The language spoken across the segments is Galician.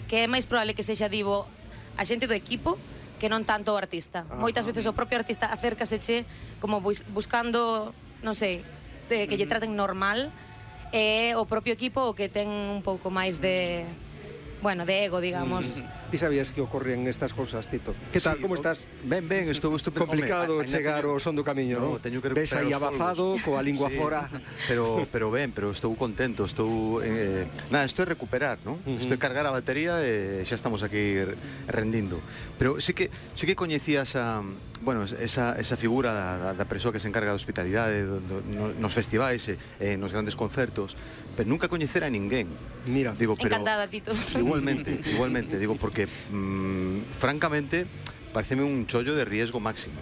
que é máis probable que sexa, digo, a xente do equipo que non tanto o artista. Moitas veces o propio artista acércaseche como buscando, non sei, que lle traten normal, e o propio equipo o que ten un pouco máis de, bueno, de ego, digamos. Ti sabías que ocorrían estas cosas, Tito? Que tal, como estás? Ben, estou complicado chegar ao son do camiño, non? Teño que ves recuperar aí os abafado, coa lingua fora. Pero estou contento, estou... Nada, isto é recuperar, non? Isto é cargar a batería e xa estamos aquí rendindo. Pero sí que coñecías esa figura da persoa que se encarga da hospitalidade nos festivais e nos grandes concertos, pero nunca coñecera a ninguén. Mira, encantada, Tito. Igualmente, digo, porque francamente pareceme un chollo de riesgo máximo.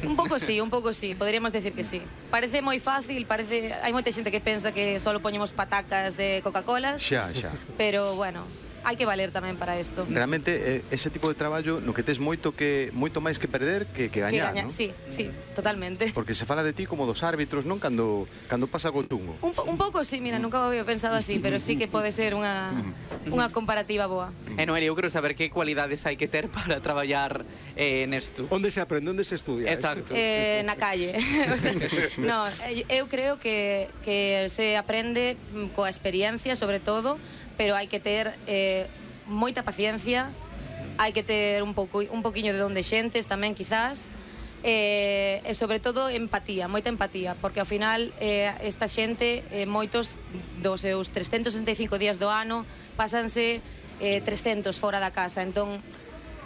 Un pouco sí, podríamos decir que sí. Parece moi fácil, hai moita xente que pensa que só poñemos patacas de Coca-Colas. Xa. Pero, bueno, hai que valer tamén para isto. Realmente, ese tipo de traballo no que tes moito máis que perder que gañar, non? Sí, totalmente. Porque se fala de ti como dos árbitros, non? Cando pasa algo chungo. Un pouco sí, mira, nunca o había pensado así, pero sí que pode ser unha comparativa boa. Noelia, eu quero saber que cualidades hai que ter para traballar nesto. Onde se aprende, onde se estudia? Exacto. Na calle. No, eu creo que se aprende coa experiencia, sobre todo, pero hai que ter moita paciencia, hai que ter un poquinho de don de xentes tamén, quizás, e sobre todo empatía, moita empatía, porque ao final esta xente, moitos dos seus 365 días do ano pásanse 300 fora da casa, entón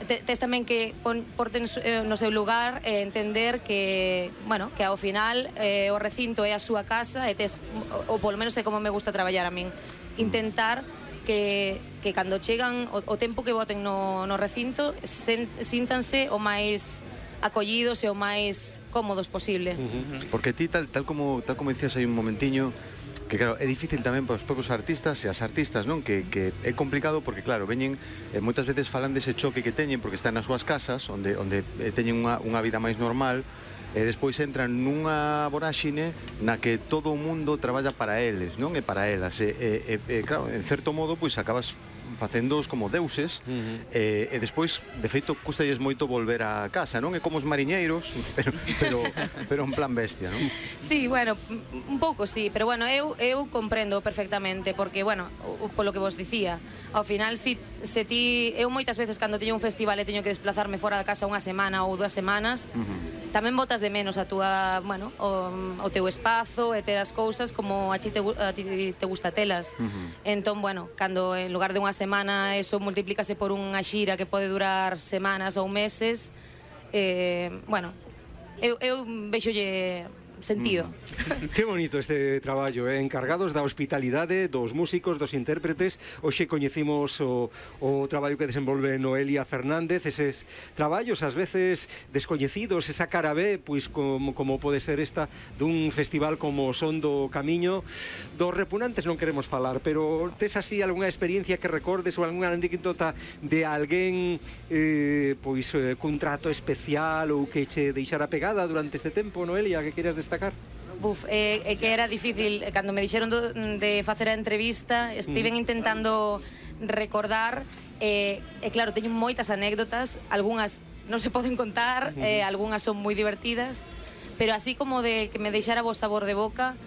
tes tamén que porte no seu lugar e entender que, bueno, que ao final o recinto é a súa casa e tes, ou polo menos é como me gusta traballar a min, intentar que cando chegan o tempo que boten no recinto síntanse o máis acollidos e o máis cómodos posible. Porque ti, tal como dicías aí un momentiño, que claro, é difícil tamén para os propios artistas e as artistas, non? Que é complicado porque, claro, veñen moitas veces falan dese choque que teñen porque están nas súas casas onde teñen unha vida máis normal, e despois entran nunha voráxine na que todo o mundo traballa para eles, non? E para elas, claro, en certo modo, pois acabas facéndoos como deuses, e despois, de feito, custalles moito volver a casa, non? É como os mariñeiros, pero en plan bestia, non? Sí, bueno, un pouco sí, pero bueno, eu comprendo perfectamente, porque, bueno, polo que vos dicía, ao final, se ti, eu moitas veces cando teño un festival e teño que desplazarme fora da casa unha semana ou 2 semanas, tamén botas de menos a túa, bueno, o teu espazo e ter as cousas como a ti te gusta telas. Entón, bueno, cando en lugar de unha semana eso multiplícase por unha xira que pode durar semanas ou meses, bueno, eu vexolle sentido. Que bonito este traballo, encargados da hospitalidade dos músicos, dos intérpretes. Hoxe coñecimos o traballo que desenvolve Noelia Fernández, eses traballos ás veces descoñecidos, esa cara B, pois como pode ser esta dun festival como Son do Camiño. Dos repunantes non queremos falar, pero tes así algunha experiencia que recordes ou algunha anécdota de alguén pois cun trato especial ou que che deixara pegada durante este tempo, Noelia, que queras destacar? É que era difícil, cando me dixeron de facer a entrevista, estiven intentando recordar, e claro, teño moitas anécdotas, algunhas non se poden contar, algunhas son moi divertidas, pero así como de que me deixara vos sabor de boca,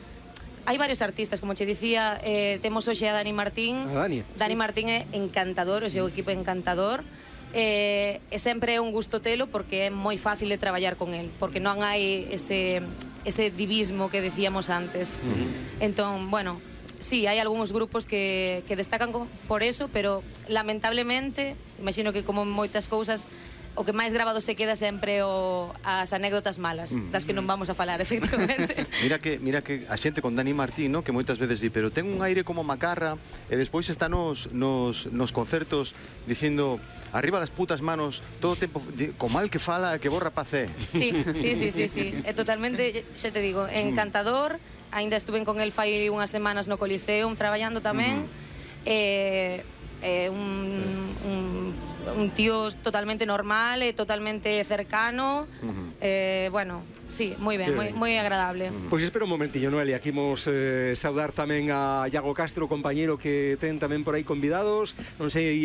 hai varios artistas, como che dicía, temos hoxe a Dani Martín. Dani Martín é encantador, o seu equipo é encantador, e sempre é un gusto telo porque é moi fácil de traballar con el, porque non hai ese divismo que decíamos antes. Entón, bueno, sí, hai algúns grupos que destacan por eso, pero lamentablemente, imagino que como moitas cousas, o que máis grabado se queda sempre as anécdotas malas, das que non vamos a falar, efectivamente. Mira que a xente con Dani Martín, no? Que moitas veces di, pero ten un aire como Macarra, e despois está nos concertos dicindo, arriba las putas manos, todo o tempo, co mal que fala, que bo rapaz é. Sí, é totalmente, xa te digo, encantador. Ainda estuve con el fai unhas semanas no Coliseum traballando tamén, un tío totalmente normal e totalmente cercano, bueno, sí, moi ben, moi agradable. Pois espera un momentiño, Noelia, aquí imos saudar tamén a Iago Castro, compañeiro que ten tamén por aí convidados, non sei